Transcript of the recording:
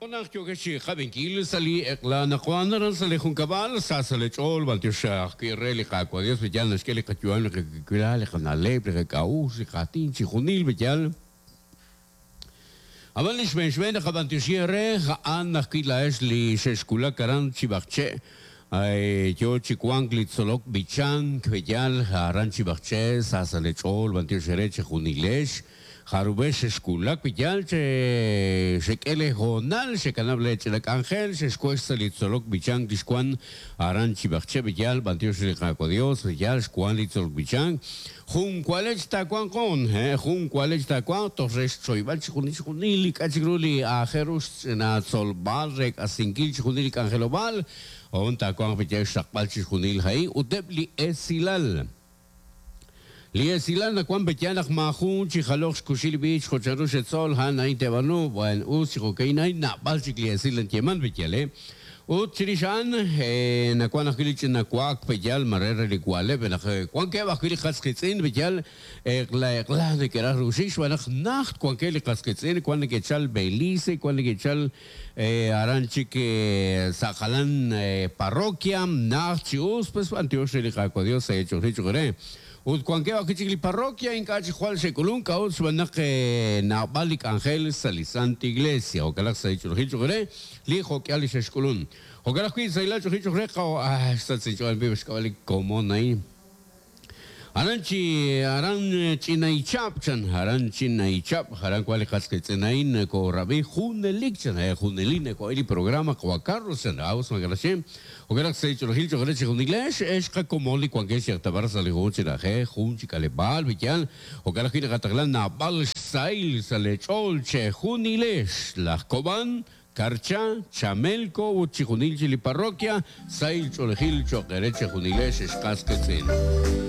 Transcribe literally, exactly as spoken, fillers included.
Naq yookex chi qab'inkil sa' li eq'la anaqwan aran sa' li junkab'al, sa sa' li ch'ool, b'antiox ajwi' re li Qaawa' Dios, b'eyal naxk'e li qayu'am, li qakawilal, li qana'leb', li qak'a'uxl, li qaatin, chixjunil b'eyal. Ab'an li xb'een xb'een naqab'antioxi re a'an ajwi' laa'ex li xexwulak aran Chib'aqche', yo chi wank li tzolok b'ichank, b'eyal aran Chib'aqche', sa sa' li ch'ool, b'antiox re chejunilex. Jarubex xexwulak b'eyal che xek'ele hoonal xekanab' le ch'ina k'anjel xexwex sa' li tzolok b'ichank li xwan aran Chib'aqche' b'eyal b'antiox li Qaawa' Dios b'eyal xwan li tzolok b'ichank jun walech taawanq on jun walech taawanq toj re xchoyb'al chixjunil chixjunil li k'a' chik ru li aajel ru xch'ina tzolb'al re k'asinkil chixjunil li k'anjelob'aal on taawanq b'eyal xraqb'al chixjunil a'in ut eb' li esilal. Li esilal nawan b'eyal naq maajun chi jaloj xkuxil b'ich jo'chanru xetzol han a'in teb'anu b'an us chi jo'ka'in a'in nab'al chik li esil anyeman b'eyal eh ut chirix a'an nawan ajwi' li ch'ina wak b'eyal mare re li wa'leb' naq wankeb' ajwi' li qas qiitz'in b'eyal eq'la eq'la neke'raj ruxik xb'aan naq najt wankeb' li qas qiitz'in wan neke'chal Belice wan neke'chal aran chik sa' jalan parroquia najt chi us pues b'antiox re li Qaawa' Dios sa' ch'oxil ch'oxre. Ut wankeb' ajwi' chik li parroquia ink'a' chi jwal xe'k'ulunk k'a'ut xb'aan naq naab'al li k'anjel sa' li Santa Iglesia jo'kan sa' ch'oxil ch'oxre li jo'k'ihal li xexk'ulun. Jo'kan ajwi' sa' ila ch'oxil ch'oxre qaw ah xsatz inch'ool b'ib' xk'ab'a li komon a'in. Aran chi aran Chinaichap chan aran Chinaichap aran cual li qas qiitz'in a'in koorab'i junelik chan junelik nako'il li programa Juan Carlos chan aus magalaxem jo'kan naq sa' ch'oxil ch'oxre chi junilex ex qakomon li wankex xyaqtabar sa' li jun chi na'ajej jun chi k'aleb'aal b'iyal jo'kan ajwi' naqataqlan naab'al xsahil sa' li ch'ool che junilex laj Kob'an Karcha, Chamelco ut chijunil chi li parroquia sahil ch'oolejil cho'q re che junilex ex qas qiitz'in.